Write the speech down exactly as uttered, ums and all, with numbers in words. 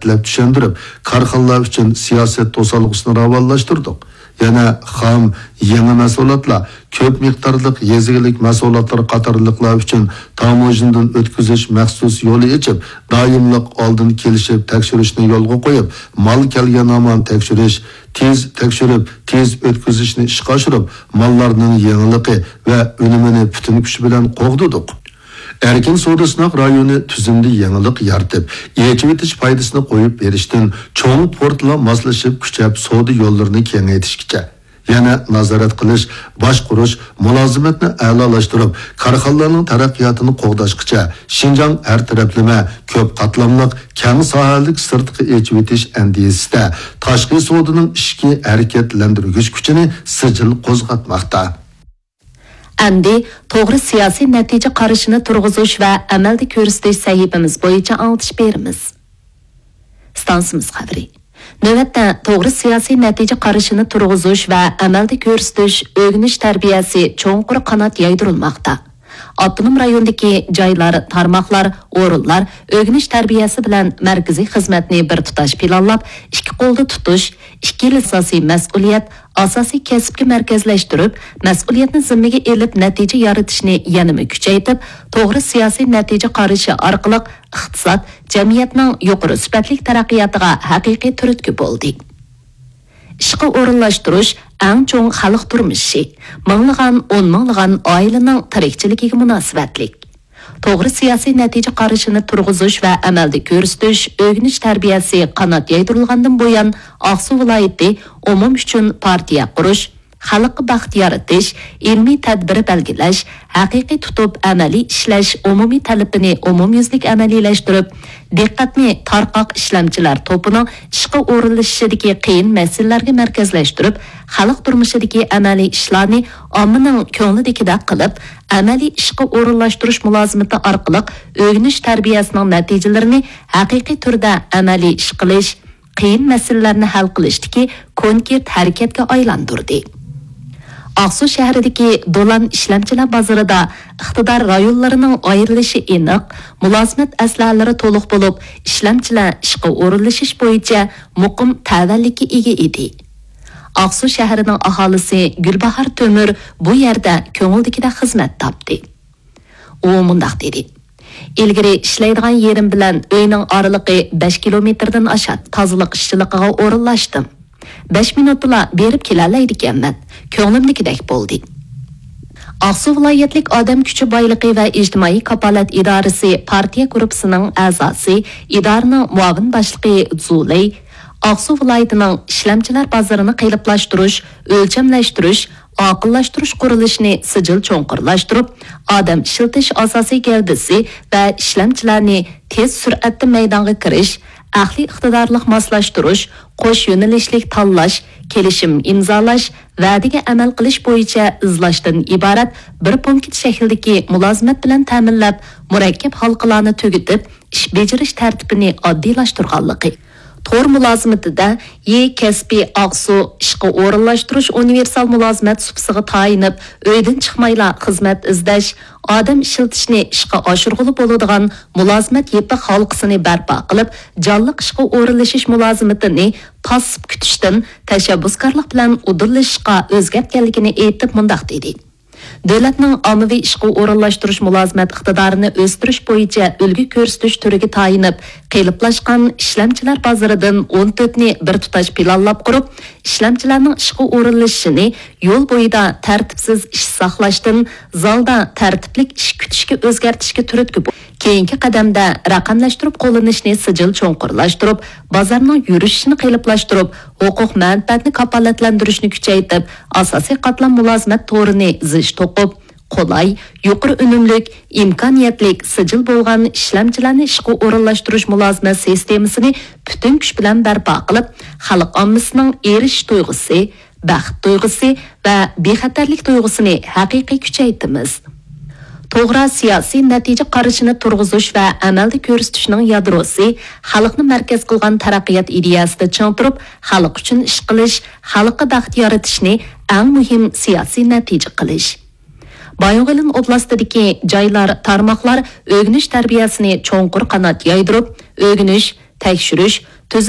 تەپسىللەپ چۈشەندۈرۈپ، كارخانىلار ئۈچۈن سىياسەت توسالغۇسىنى راۋانلاشتۇردۇق. يەنە خام، يېڭى مەھسۇلاتلار، كۆپ مىقدارلىق يېزا ئىگىلىك مەھسۇلاتلىرى قاتارلىقلار ئۈچۈن تاموژنىدىن ئۆتكۈزۈش مەخسۇس يولى ئېچىپ، دائىملىق ئالدىن كېلىشىپ تەكشۈرۈشنى يولغا قويۇپ، مال كەلگەن ھامان تەكشۈرۈش، تېز تەكشۈرۈپ، تېز ئۆتكۈزۈشنى ئىشقا ئاشۇرۇپ، ماللارنىڭ يېڭىلىقى ۋە ئۈنۈمىنى پۈتۈن كۈچ بىلەن قوغدىدۇق. ئەركىن سودا سىناق رايونى تۈزۈمدە يېڭىلىق يارىتىپ، ئېچىۋېتىش پايدىسىنى قويۇپ بېرىشتىن چوڭ پورتلار ماسلىشىپ كۈچەپ سودا يوللىرىنى كېڭەيتىشكىچە، يەنە نازارەت قىلىش، باشقۇرۇش، مۇلازىمەتنى ئەلالاشتۇرۇپ، كارخانىلارنىڭ تەرەققىياتىنى قوغداشقىچە، شىنجاڭ ھەر تەرەپلىمە، كۆپ قاتلاملىق، كەڭ ساھەلىك سىرتقا ئېچىۋېتىش ئەندىزىسىدە تاشقى سودىنىڭ ئىچكى ھەرىكەتلەندۈرگۈچ كۈچىنى سىجىل قوزغاتماقتا. ئەمدى توغرا سىياسىي نەتىجە قارىشىنى تۇرغۇزۇش ۋە ئەمەلدە كۆرسىتىش سەھىپىمىز بويىچە ئاڭلىتىش بېرىمىز. ئىستانسىمىز خەۋىرى. نۆۋەتتە توغرا سىياسىي نەتىجە قارىشىنى تۇرغۇزۇش ۋە ئەمەلدە كۆرسىتىش، ئۆگىنىش تەربىيەسى چوڭقۇر قانات يايدۇرۇلماقتا. ئاپتونوم رايوندىكى جايلار، تارماقلار، ئورۇنلار ئۆگىنىش تەربىيەسى بىلەن مەركىزىي خىزمەتنى بىر تۇتاش پىلانلاپ، ئىككى قولدا تۇتۇش، ئىككىلا ئاساسىي مەسئۇلىيەت، ئاساسىي كەسىپكە مەركەزلەشتۈرۈپ، مەسئۇلىيەتنى زىممىگە ئېلىپ نەتىجە يارىتىشنى يەنىمۇ كۈچەيتىپ، توغرا سىياسىي نەتىجە قارىشى ئارقىلىق ئىقتىساد، جەمئىيەتنىڭ يۇقىرى سۈپەتلىك تەرەققىياتىغا ھەقىقىي تۈرتكە بولدى. ئىشقا ئورۇنلاشتۇرۇش ئەڭ چوڭ خەلق تۇرمۇشى، مىڭلىغان، ئون مىڭلىغان ئائىلىنىڭ تىرىكچىلىكىگە مۇناسىۋەتلىك. توغرا سىياسىي نەتىجە قارىشىنى تۇرغۇزۇش ۋە ئەمەلدە كۆرسىتىش، ئۆگىنىش تەربىيەسى قانات يايدۇرۇلغاندىن بۇيان، ئاقسۇ ۋىلايىتى ئومۇم ئۈچۈن پارتىيە قۇرۇش، خەلققە بەخت يارىتىش، ئىلمىي تەدبىر بەلگىلەش، ھەقىقىي تۇتۇپ ئەمەلىي ئىشلەش ئومۇمىي تەلىپىنى ئومۇميۈزلۈك ئەمەلىيلەشتۈرۈپ، دىققەتنى تارقاق ئىشلەمچىلەر توپىنىڭ ئىشقا ئورۇنلىشىشىدىكى قىيىن مەسىلىلەرگە مەركەزلەشتۈرۈپ، خەلق تۇرمۇشىدىكى ئەمەلىي ئىشلارنى ئاممىنىڭ كۆڭلىدىكىدەك قىلىپ، ئەمەلىي ئىشقا ئورۇنلاشتۇرۇش مۇلازىمىتى ئارقىلىق ئۆگىنىش تەربىيەسىنىڭ نەتىجىلىرىنى ھەقىقىي تۈردە ئەمەلىي ئىش قىلىش، قىيىن مەسىلىلەرنى ھەل قىلىشتىكى كونكرېت ھەرىكەتكە ئايلاندۇردى. ئاقسۇ شەھىرىدىكى دولان ئىشلەمچىلەر بازىرىدا ئىقتىدار رايونلىرىنىڭ ئايرىلىشى ئېنىق، مۇلازىمەت ئەسلىھەلىرى تولۇق بولۇپ، ئىشلەمچىلەر ئىشقا ئورۇنلىشىش بويىچە مۇقىم تەۋەلىككە ئىگە ئىدى. ئاقسۇ شەھىرىنىڭ ئاھالىسى گۈلباھار تۆمۈر بۇ يەردە كۆڭۈلدىكىدەك خىزمەت تاپتى. ئۇ مۇنداق دېدى: «ئىلگىرى ئىشلەيدىغان يېرىم بىلەن ئۆينىڭ ئارىلىقى بەش كىلومېتىردىن ئاشاتتى. تازىلىق ئىشچىلىقىغا ئورۇنلاشتىم. بەش مىنۇتتىلا بېرىپ كېلەلەيدىكەنمەن. كۆڭلۈمدىكىدەك بولدى.» ئاقسۇ ۋىلايەتلىك ئادەم كۈچى بايلىقى ۋە ئىجتىمائىي كاپالەت ئىدارىسى پارتىيە گۇرۇپپىسىنىڭ ئەزاسى، ئىدارىنىڭ مۇئاۋىن باشلىقى زۇلەي ئاقسۇ ۋىلايىتىنىڭ ئىشلەمچىلەر بازىرىنى قېلىپلاشتۇرۇش، ئۆلچەملەشتۈرۈش، ئاقىللاشتۇرۇش قۇرۇلۇشىنى سىجىل چوڭقۇرلاشتۇرۇپ، ئادەم ئىشلىتىش ئاساسىي گەۋدىسى ۋە ئىشلەمچىلەرنى تېز سۈرئەتتە مەيدانغا كىرىش، ئەقلىي ئىقتىدارلىق ماسلاشتۇرۇش، قوش يۆنىلىشلىك تاللاش، كېلىشىم ئىمزالاش، ۋەدىگە ئەمەل قىلىش بويىچە ئىزلاشتىن ئىبارەت بىر پونكىت شەكلىدىكى مۇلازىمەت بىلەن تەمىنلەپ، مۇرەككەپ ھالقىلارنى تۈگىتىپ، ئىش بېجىرىش تەرتىپىنى ئاددىيلاشتۇرغانلىقى، تور مۇلازىمىتىدە يې كەسپىي ئاقسۇ ئىشقا ئورۇنلاشتۇرۇش ئۇنىۋېرسال مۇلازىمەت سۇپىسىغا تايىنىپ، ئۆيدىن چىقمايلا خىزمەت ئىزدەش، ئادەم ئىشلىتىشنى ئىشقا ئاشۇرغىلى بولىدىغان مۇلازىمەت يېپىق ھالقىسىنى بەرپا قىلىپ، جانلىق ئىشقا ئورۇنلىشىش مۇلازىمىتىنى پاسسىپ كۈتۈشتىن تەشەببۇسكارلىق بىلەن ئۇدۇللىشىشقا ئۆزگەرتكەنلىكىنى ئېيتىپ مۇنداق دېدى: دۆلەتنىڭ ئاممىۋى ئىشقا ئورۇنلاشتۇرۇش مۇلازىمەت ئىقتىدارىنى ئۆستۈرۈش بويىچە ئۈلگە كۆرسىتىش تۈرىگە تايىنىپ، قېلىپلاشقان ئىشلەمچىلەر بازىرىدىن ئون تۆتنى بىر تۇتاش پىلانلاپ قۇرۇپ، ئىشلەمچىلەرنىڭ ئىشقا ئورۇنلىشىشىنى يول بويىدا تەرتىپسىز ئىش ساقلاشتىن، زالدا تەرتىپلىك ئىش كۈتۈشكە ئۆزگەرتىشكە تۈرتكە بول-، كېيىنكى قەدەمدە رەقەملەشتۈرۈپ قوللىنىشنى سىجىل چوڭقۇرلاشتۇرۇپ، بازارنىڭ يۈرۈشۈشىنى قېلىپلاشتۇرۇپ، ھوقۇق مەنپەئەتنى كاپالەتلەندۈرۈشنى كۈچەيتىپ، ئاساسىي قاتلام مۇلازىمەت تورىنى زىچ توقۇپ، قولاي، يۇقىرى ئۈنۈملۈك، ئىمكانىيەتلىك، سىجىل بولغان ئىشلەمچىلەرنى ئىشقا ئورۇنلاشتۇرۇش مۇلازىمەت سىستېمىسىنى پۈتۈن كۈچ بىلەن بەرپا قىلىپ، خەلق ئاممىسىنىڭ ئېرىشىش تۇيغۇسى، بەخت تۇيغۇسى ۋە بىخەتەرلىك تۇيغۇسىنى ھەقىقىي كۈچەيتىمىز. توغرا سىياسىي نەتىجە قارىشىنى تۇرغۇزۇش ۋە ئەمەلدە كۆرسىتىشنىڭ يادروسى خەلقنى مەركەز قىلغان تەرەققىيات ئىدىيەسىدە چىڭ تۇرۇپ، خەلق ئۈچۈن ئىش قىلىش، خەلققە بەخت يارىتىشنى ئەڭ مۇھىم سىياسىي نەتىجە قىلىش. بايىنغولىن ئوبلاستىدىكى جايلار، تارماقلار ئۆگىنىش تەربىيەسىنى چوڭقۇر قانات يايدۇرۇپ، ئۆگىنىش، تەكشۈرۈش، تۈزىتىش